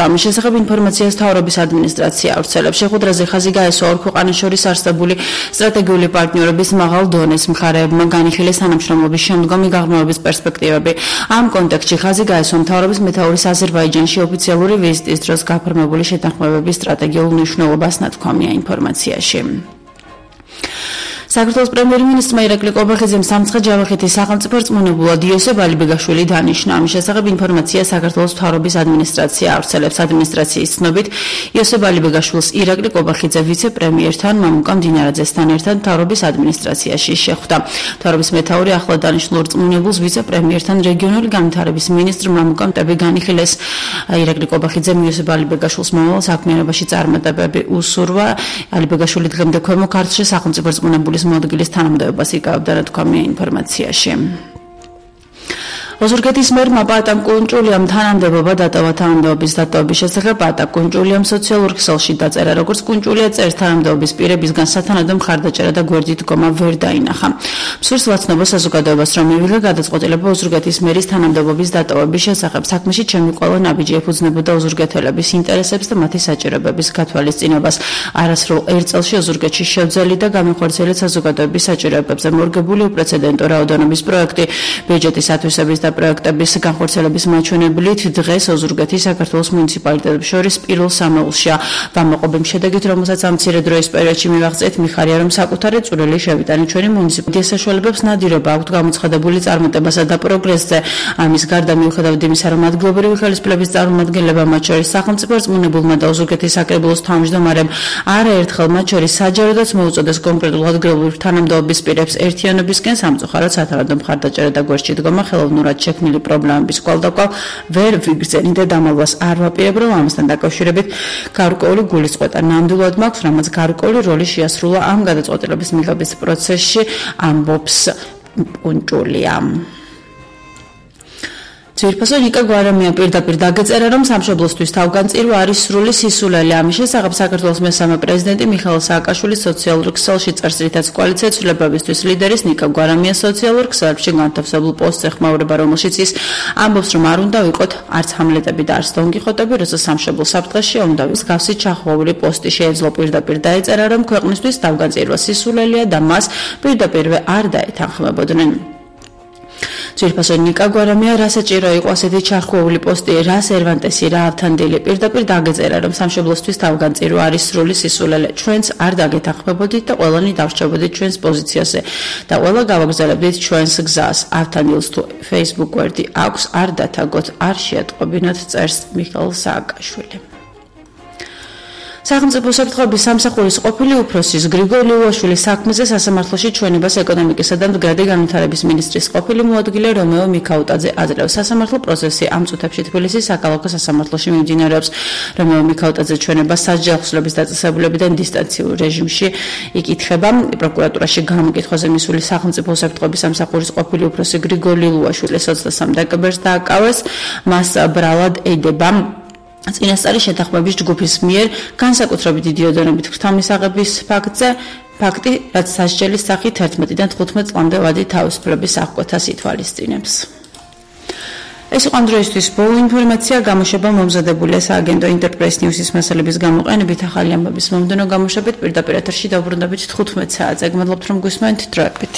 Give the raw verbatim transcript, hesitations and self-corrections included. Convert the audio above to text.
ამის შესახებ ინფორმაციას მთავრობის ადმინისტრაცია ავრცელებს. შეხვედრაზე ხაზი გაესვა ორ ქვეყანას შორის არსებული სტრატეგიული პარტნიორობის მაღალ დონეს მხარეებმა განიხილეს თანამშრომლობის შემდგომი გაღრმავების პერსპექტივები. ამ კონტექსტში ხაზი გაესვა მთავრობის მეთაურის აზერბაიჯანში ოფიციალური ვიზიტის დროს გაფორმებული შეთანხმებების სტრატეგიულ მნიშვნელობას ნათქვამია ინფორმაციაში. საქართველოს პრემიერ-მინისტრმა ირაკლი ყობახიძემ სამცხე-ჯავახეთის სახელმწიფო რწმუნებულად იოსებ ალიბეგაშვილი დანიშნა. ამის შესახებ ინფორმაცია საქართველოს მთავრობის ადმინისტრაცია ავრცელებს. ადმინისტრაციის ცნობით იოსებ ალიბეგაშვილს ირაკლი ყობახიძე ვიცე-პრემიერთან მამუკა მდინარაძესთან ერთად მთავრობის ადმინისტრაციაში შეხვდა. მთავრობის მეთაური ახლად დანიშნულ რწმუნებულს ვიცე-პრემიერთან რეგიონული განვითარების მინისტრ მამუკა მტები განიხილეს. ირაკლი ყობახიძემ იოსებ ალიბეგაშვილს მომავალ საქმიანობაში წარმატებები უსურვა. ალიბეგაშვილი დღემდე ქვემო ქართლში სახელმწიფო რწმუნებულის მოადგილის თანამდებობას იკავებდა, ნათქვამია ინფორმაციაში. ოზურგეთის მერმა პატა კუნჭულიამ თანამდებობა დატოვა. თანამდებობის დატოვების შესახებ პატა კუნჭულიამ სოციალურ ქსელში დაწერა. როგორც კუნჭულია წერს, თანამდებობის პირებისგან სათანადო მხარდაჭერა და გვერდით დგომა ვერ დაინახა. მსურს ვაცნობა საზოგადოებას, რომ მივიღე გადაწყვეტილება ოზურგეთის მერის თანამდებობის დატოვების შესახებ. საქმეში ჩემი ყველა ნაბიჯი ეფუძნებოდა ოზურგეთელების ინტერესებს და მათი საჭიროებების გათვალისწინებას. არასრულ ერთ წელში ოზურგეთში შევძელი და გამახორციელეთ საზოგადოების საჭიროებებზე მორგებული უპრეცედენტო რაოდენობის პროექტი. ბიუჯეტის ათვისების და პროექტების განხორციელების მაჩვენებლით დღეს ოზურგეთის საქართველოს მუნიციპალიტეტებს შორის პირველ სამეულშია. ვამაყობებ შედეგით, რომელსაც ამ მცირე დროის პერიოდში მივაღწევთ, მიხარია, რომ საკუთარი წვრილი შევიტანით ჩვენი მუნიციპალიტეტის საშუალებებს ნადირობა აქვთ გამოცხადებული წარმატებასა და პროგრესზე. ამის გარდა მიუხედავად იმისა, რომ ადგილობრივი ხელისუფლების წარმომადგენლებმა, მათ შორის სახელმწიფო რწმუნებულმა და ოზურგეთის საკრებულოს თავმჯდომარემ არაერთხელ მათ შორის საჯაროდაც მოუწოდეს კონკრეტულ ადგილობრივ თანამდებობის პირებს ერთიანობისკენ, სამწუხაროდ სათანადო მხარდაჭერა და გვერდში დგომა ხელოვნურად შექმნილი პრობლემების კვალდაკვალ ვერ ვიგრძენით და დამალვას არ ვაპირებ, რომ ამასთან დაკავშირებით გარკვეული გულისწყეტა ნამდვილად მაქვს, რამაც გარკვეული როლი შეასრულა ამ გადაწყვეტილების მიღების პროცესში, ამბობს კუნჭულია. ძვირფასო ნიკა გვარამია პირდაპირ დაგეწერა, რომ სამშობლოსთვის თავგანწირვა არის სრული სისულელი. ამის შესახებ საქართველოს მესამე პრეზიდენტი მიხეილ სააკაშვილი სოციალურ ქსელში წერს, რითაც კოალიცია ცვლილებებისთვის ლიდერის ნიკა გვარამია სოციალურ ქსელებში განთავსებულ პოსტს ეხმაურება, რომელშიც ის ამბობს, რომ არ უნდა ვიყოთ არც ჰამლეტები და არც დონკიხოტები, როცა სამშობლო საფრთხეშია, უნდა ვისგავსი ჩახვეული პოსტი შეეძლო. პირდაპირ დაეწერა, რომ ქვეყნისთვის თავგანწირვა სისულელია და მას პირდაპირვე არ დაეთანხმებოდნენ. ძვირფასო ნიკა გვარამია რა საჭირო იყო ასეთი ჩარხვეული პოსტი, რა სერვანტესი, რა ავთანდილი. პირდაპირ დაგეწერა, რომ სამშობლოსთვის თავგანწირვა არის სრული სისულელე. ჩვენც არ დაგეთანხმებოდით და ყველანი დავრჩებოდით ჩვენს პოზიციაზე და ყველა გავაგრძელებდით ჩვენს გზას. ავთანდილს თუ Facebook გვერდი აქვს, არ დათაგოთ, არ შეატყობინოთ, წერს მიხეილ სააკაშვილი. სახელმწიფო საფრთხეების სამსახურის ყოფილი უფროსის გრიგოლ ლიუაშვილის საქმეზე სასამართლოში ჩვენებას ეკონომიკისა და მდგრადი განვითარების მინისტრის ყოფილი მოადგილე რომეო მიქაუტაძე აძლევს. სასამართლო პროცესი ამ წუთებში თბილისის საქალაქო სასამართლოში მიმდინარეობს. რომეო მიქაუტაძე ჩვენებას სასჯელი ახსნების დაწესებულებიდან დისტანციურ რეჟიმში იკითხება. პროკურატურაში გამოკითხვაზე მისული სახელმწიფო საფრთხეების სამსახურის ყოფილი უფროსი გრიგოლ ლიუაშვილის ოცდასამი დეკემბერს დააკავეს. მას ბრალად ედება წინასწარი შეთანხმების ჯგუფის მიერ განსაკუთრებით დიდი ოდენობით ღვთამისაღების ფაქტზე, ფაქტი, რაც სასჯელის სახით ერთმეტიდან თხუთმეტ წლამდე ვადი თავისუფლების აღკვეთას ითვალისწინებს. ეს იყო დღეისთვის ბოლო ინფორმაცია. გამოშვება მომზადებულია სააგენტო ინტერპრეს ნიუსის მასალების გამოყენებით. ახალი ამბების მომდევნო გამოშვებით პირდაპირ ეთერში დავბრუნდებით თხუთმეტ საათზე. გმადლობთ, რომ გვისმენთ. დროებით.